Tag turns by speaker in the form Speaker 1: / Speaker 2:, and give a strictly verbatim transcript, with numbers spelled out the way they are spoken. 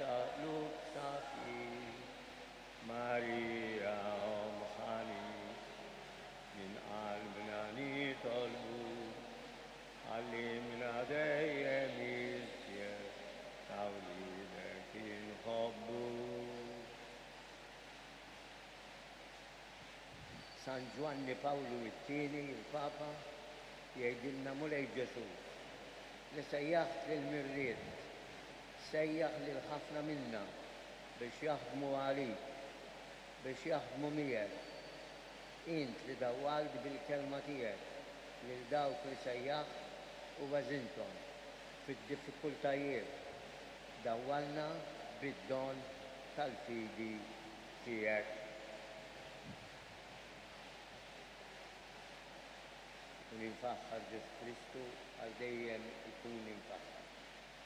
Speaker 1: ta' qlub safjin. Marija Omm ħanin, minn qalbna nitolbu, għallimna dejjem iżjed ta' wliedek inħobbu. San Ġwanni Pawlu t-Tieni, il-Papa, jgħidilna: Mulej Ġesù, li sejjaħt lill-mirriet, sejjaħ lil ħafna minna biex jaħdmu għalik, biex jaħdmu miegħek. Int li dawwalt bil-kelma tiegħek lil dawk li sejjaħt u għeżinthom fid-diffikultajiet, dawwalna bid-don tal-fidi tiegħek. Ikun imfaħħar Ġesù Kristu, għal dejjem ikun imfaħħar.